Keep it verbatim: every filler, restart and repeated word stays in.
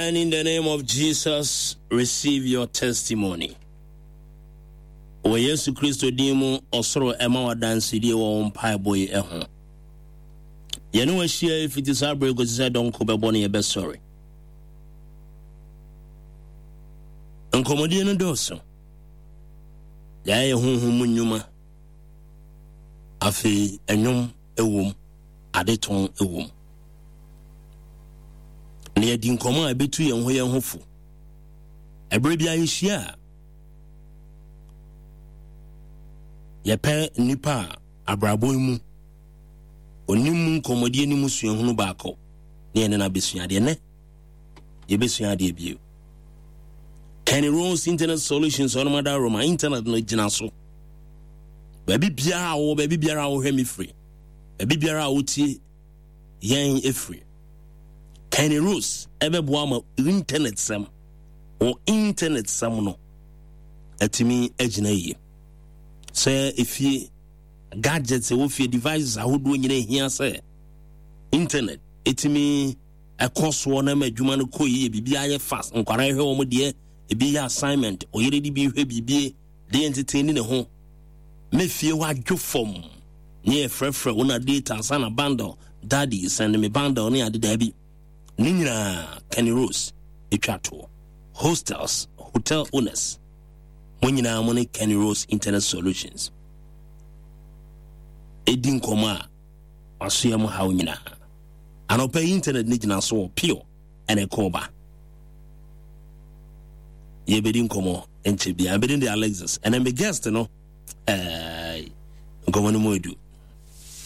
And in the name of Jesus, receive your testimony. Wɔ Yesu Kristo din mu, ɔsoro ɛma wadansedie wɔ wo mpaebɔ yi ho. Yɛne wahyia fiti saa berɛ kɔsi sɛ dɔnko bɛbɔ no yɛbɛsɔre. Nkɔmmɔdie no dɔɔso. Yɛayɛ honhom mu nnwuma. Afei, ɛnwom ɛwom, adetɔn ɛwom. Na yɛdi nkɔmmɔ a ɛbɛtu yɛn ho yɛn ho fo. Ɛberɛ bi a yɛhyia a, yɛpɛ nnipa a abrabɔ yi mu onim mu nkɔmmɔdie ne mu suahunu baako ne yɛne no abɛsua adeɛ. Nɛ yɛbɛsua adeɛ bio. Kenny Rose Internet Solutions, ɔnom ada Roma internet no gyina so. Baabi biara a wɔwɔ, baabi biara a wɔhwɛ me firi, baabi biara a wotie yɛn efiri, Kenny Rose ɛbɛboa ma internet sɛm wɔ internet sɛm no atumi agyina yie. Sɛ efie gadgets ɛwɔ fie, devices ahodoɔ nyinaa ehia sɛ internet ɛtumi ɛkɔ soɔ na ma adwuma no kɔ yie, biribi ayɛ fast, nkwadaa hwɛ wɔn deɛ, ebi yɛ assignment, ɔyere de bi hwɛ biribi de yɛn tete ne ne ho me fie hɔ adwo fam ne yɛ frɛfrɛ wo na data ansa na bundle, "Daddy, send me bundle" ne ade. Daabi, ne nyinaa Kenny Rose etwa toɔ. Hostels, hotel owners, mo nyinaa mo ne Kenny Rose Internet Solutions edi nkɔmɔ a wasoɛ mo haw nyinaa. Anɔpɛ yi internet ne gyina so wɔ pure ɛna ɛkɔɔ ba. Yɛbɛdi nkɔmɔ nkyɛ bia. Ɛbɛdi de Alexis ɛnɛ me guest no. Ɛɛ nkɔmɔ no mu edu.